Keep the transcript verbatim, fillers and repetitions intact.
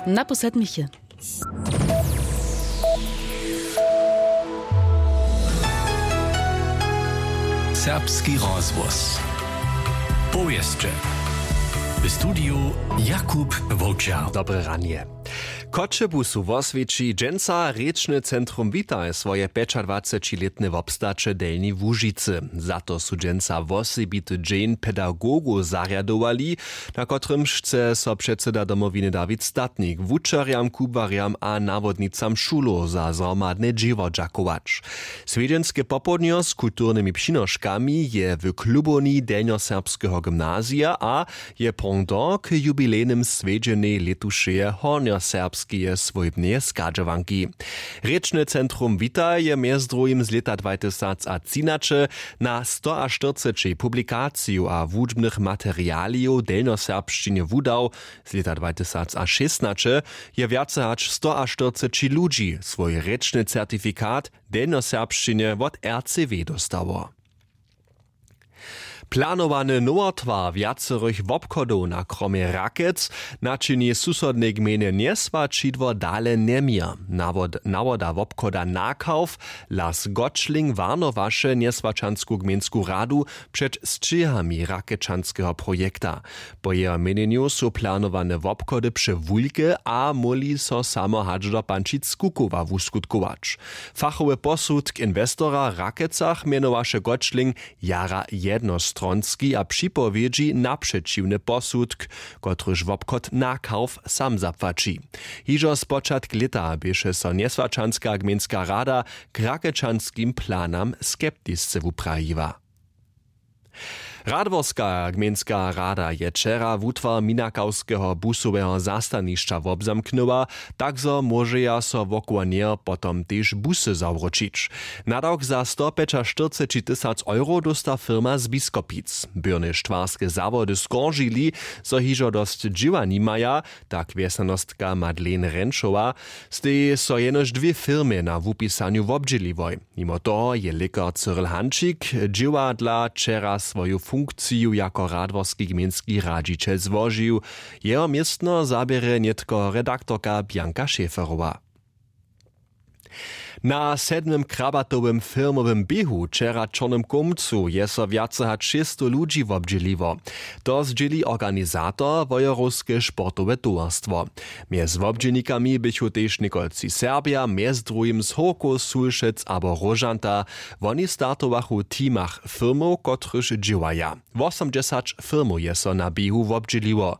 Na po sedmich je. Serbski rozhłos. Powěsće. W studiju Jakub Wowčer. Dobre ranje. Choćebuzu woswěći dźensa rěčny centrum Witaj swoje pjećadwacećilětne wobstaće w Delnjej Łužicy. Za to su dźensa wosebity dźeń pedagogow zarjadowali, na kotrymž chce so předsyda Domowiny Dawid Statnik wučerjam, kubłarjam a nawodnicam šulow za zhromadne dźěło dźakować. Swjedźenske popołdnjo z kulturnymi přinoškami je w klubowni Delnjoserbskeho gymnazija a je pendant k jubilejnym swjedźenjej lětušeje hornjoserbskeje swójbneje schadźowanki. Rěčne centrum Witaj je mjez druhim z lěta dwajtysacatřinaće na stoaštyrceći publikaciju a wučbnych materialijow w delnjoserbšćinje wudał. Z lěta dwajtysacšěstnaće je wjace hač stoaštyrceći ludźi swój rěčny certifikat w delnjoserbšćinje wot R C W dóstało. Planowany nowotwar wjacerych wobchodow na kromje Rakec načini susodnej gmejnje Njeswaćidło dale njeměr. Nawod-, nawoda wobchoda Nakawf Lars Gotschling warnowaše njeswaćansku gmejnsku radu před sćěhami rakečanskeho projekta. Po jeho měnjenju su planowane wobchody přewulke a móhli so samo hač do Pančic-Kukowa wuskutkować. Fachowy posudk inwestora w Rakecach mjenowaše Gotschling jara jednostronski a připowědźi napřećiwny posudk, kotryž wobchod Nakawf sam zapłaći. Hižo spočatk lěta běše so njeswaćanska gmejnska rada k rakečanskim planam skeptisce wuprajiła. Radworska gmejnska rada je wčera wutwar minakawskeho busoweho zastanišća wobzamknyła, tak zo móžeja so wokoło njeho potom tež busy zawróćić. Nadawk za stopjećaštyrceći tysac euro dósta firma z Biskopic. Byrne štwarske zawody skoržili, zo hižo dosć dźěła nimaja, tak wjesnjanostka Madeleine Renčowa, steji so jenož dwě firmy na wupisanju wobdźěliłoj. Nimo toho je lěkar Cyril Hančik dźěła dla wčera swoju funkciju jako radworski gmejnski radźićel złožił. Jeho městno zaběrje nětko redaktorka Bianka Schäferowa. Na sedmym krabatowym firmowym běhu wčera w Čornym Kołmcu je so wjace hač šěsćstow ludźi wobdźěliło. To zdźěli organizator, Wojerowske sportowe towarstwo. Mjez wobdźělnikami běchu tež několci Serbja, mjez druhim z Hórkow, Sulšec abo Róžanta. Woni startowachu w teamach firmow, kotryž dźěłaja. Wosomdźesać firmow je so na běhu wobdźěliło.